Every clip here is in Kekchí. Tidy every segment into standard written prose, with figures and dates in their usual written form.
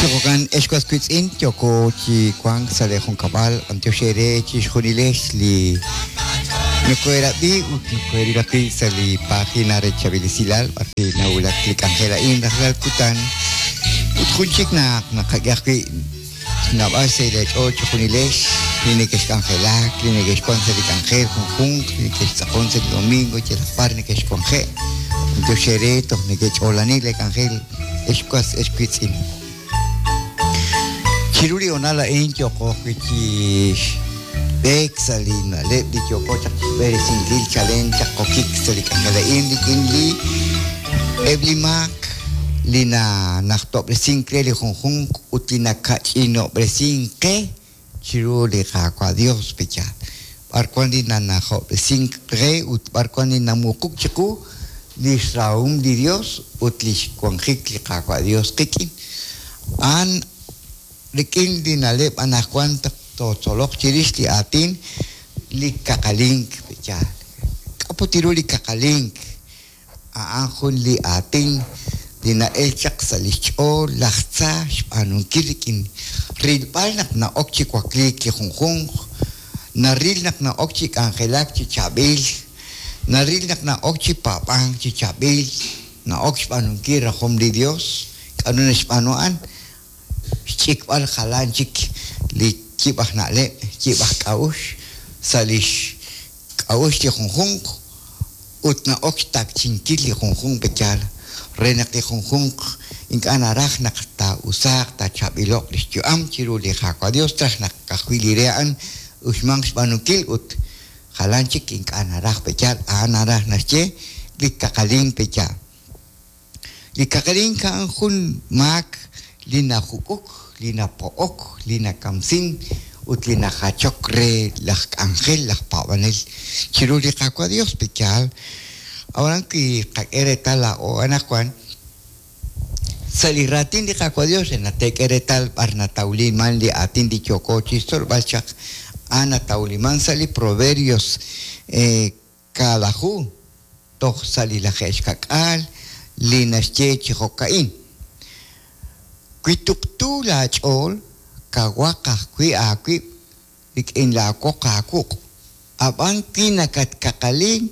Chi jo'kan, ex was wiitz'in, yooko chi wank sa' lee junkab'al, b'antiox eere chixjunilex li nokoheerab'i ut nokoheeril ajwi' sa' li página re Chaab'il Esilal b'arwi' nawulak li k'anjel a'in rajlal kutan. Ut jun chik naq naqak'e ajwi' xnawb'al sa' leech'ool chixjunilex li nekexk'anjelak, li nekexwank sa' li k'anjel junjunq, li nekextz'aqon sa' li domingo yalaq b'ar nekexwanje'. B'antiox eere toj nekech'oolani lee k'anjel. Ex was, ex wiitz'in, chiru li hoonal a'in yooqo ajwi' chi b'eek sa' li na'leb' li yooko chaq chixb'eresinkil chalen chaq qokik sa' li k'anjel a'in rik'in li eb' li maak li nanajtob'resink re li junjunq ut li naka'ch'inob'resink qe chiru li Qaawa' Dios, pe'yaal? B'ar wan li nanajob'resink qe ut b'ar wan li namuquk chiqu lix rahom li Dios ut lix wanjik li Qaawa' Dios qik'in? A'an rik'in li na'leb' anajwan tootzoloq chirix li aatin li kaqalink, pe'yaal? K'a' put ru li kaqalink? A'an jun li aatin li na'el chaq sa' li xch'ool laj tza xb'aanunkil rik'in rilb'al naq na'ok chi wakliik li junjunq, naril naq na'ok chi k'anjelak chi chaab'il, naril naq na'ok chi paab'ank chi chaab'il, na'ok xb'aanunkil rajom li Dios. K'a'ru naxb'aanu a'an? Xch'ikb'al jalan chik li yib' aj na'leb', yib' aj k'a'uxl sa' lix k'a'uxl li junjunq ut na'ok xtakchinkil li junjunq pe'yaal re naq li junjunq ink'a' naraj naq taa'usaaq taachaab'ilo'q lix yu'am chiru li Qaawa' Dios traj naq ka'ajwi' li re a'an uxmanq xb'aanunkil ut jalan chik ink'a' naraj pe'yaal a'an naraj naxye li kaqalink pe'yaal. Li kaqalink a'an jun maak li najuk'uk, li napo'ok, li nakamsin ut li najachok re laj k'anjel, laj paab'anel chiru li Qaawa' Dios. Pe'yaal? Ab'anan wi qak'e reetal laa'o anaqwan sa' li raatin li Qaawa' Dios re naq teek'e reetal b'ar natawliman li aatin li yooko chixtzolb'al chaq, a'an natawliman sa' li Proverbios kaalaju toj sa' li laje'xka'k'aal li naxye chi jo'ka'in, Wi tuqtu laach'ool, kawaq ajwi' aawib' rik'in laawoq aawuq', ab'an wi nakatkaqalink,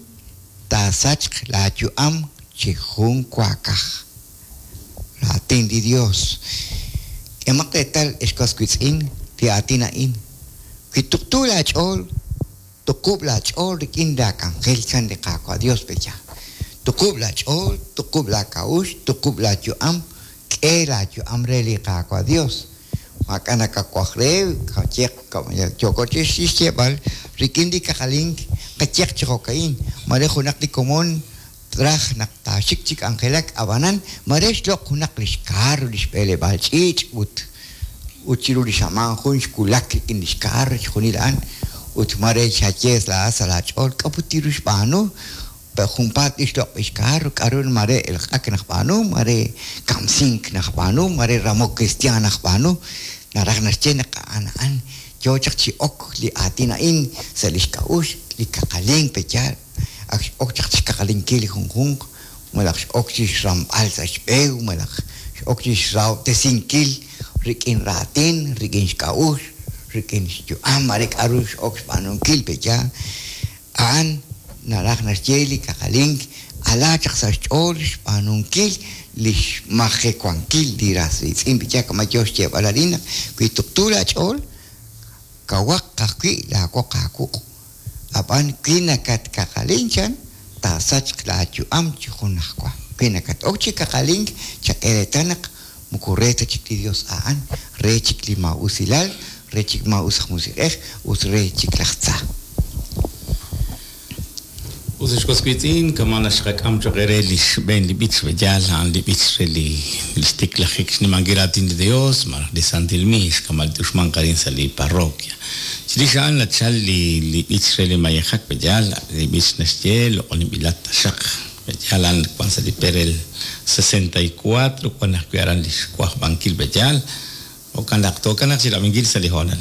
taasachq laayu'am chi jun waakaj. Raatin li Yos. K'ehomaq reetal, ex was wiitz'in, li aatin a'in, Wi tuqtu laach'ool, Tuqub' laach'ool rik'in laak'anjel, chan li Qaawa' Yos, pe'yaal? Tuqub' laach'ool, tuqub' laak'a'uxl, tuqub' laayu'am, k'e laayu'am re li Qaawa' Yos. Maak'a' nakawaj re, qayeq, yooko chi xyeeb'al rik'in li kaqalink, qayeq chi jo'ka'in, mare junaq li komon traj naq taaxik chi k'anjelak, ab'anan mare xloq' junaq li xkaar, li xb'eleb'aal ch'iich' ut ut chiru li xamaan jun xwulak rik'in li xkaar chixjunil a'an ut mare xaye laa'at sa' laach'ool k'a' put tiru xb'aanu pe' junpaat li xloq' li xkaar k'a'ru mare elq'ak najb'aanu mare kamsink najb'aanu mare ramok kristiaan najb'aanu naraj naxye naq a'an a'an yoo chaq chi ok li aatin a'in sa' li xk'a'uxl li kaqalink pe' yaal Ak x'ok chaq chi xkaqalinkil li junjunq, malaj x'ok chi xramb'al sa' xb'e, malaj x'ok chi xrahob'tesinkil rik'in raatin, rik'in xk'a'uxl, rik'in xyu'am, mare k'a'ru x'ok xb'aanunkil pe'yaal. A'an naraj naxye li kaqalink ala chaq sa' xch'ool xb'aanunkil li xmajewankil li ras riitz'in pe'yaal kama' yoo xyeeb'al arin naq wi tuqtu laach'ool, kawaq ajwi' laawoq aawuq'. Ab'an wi nakatkaqalink chan, taasachq laayu'am chi junajwa. Wi nakat-ok chi kaqalink, chak'e reetal naq moko re ta chik li Yos a'an, re chik li maa'usilal, re chik maa'us aj musiq'ej ut re chik laj tza. Us ex was wiitz'in, kama' naxqak'am choq' eere li xb'een li b'ich b'eyaal, a'an li b'ich re li xtiklajik xnimankil raatin li Dios malaj li santil miix, kama' li t'uxmanq arin sa' li parroquia. Chirix a'an nachal li li b'ich re li mayejak b'eyaal, li b'ich naxye Loq'oninb'ilat taxaq. B'eyaal a'an wan sa' li perel 64, wan ajwi' aran li xwajb'ankil b'eyaal. Jo'kan naq tookanaq chi rab'inkil sa' li hoonal a'in.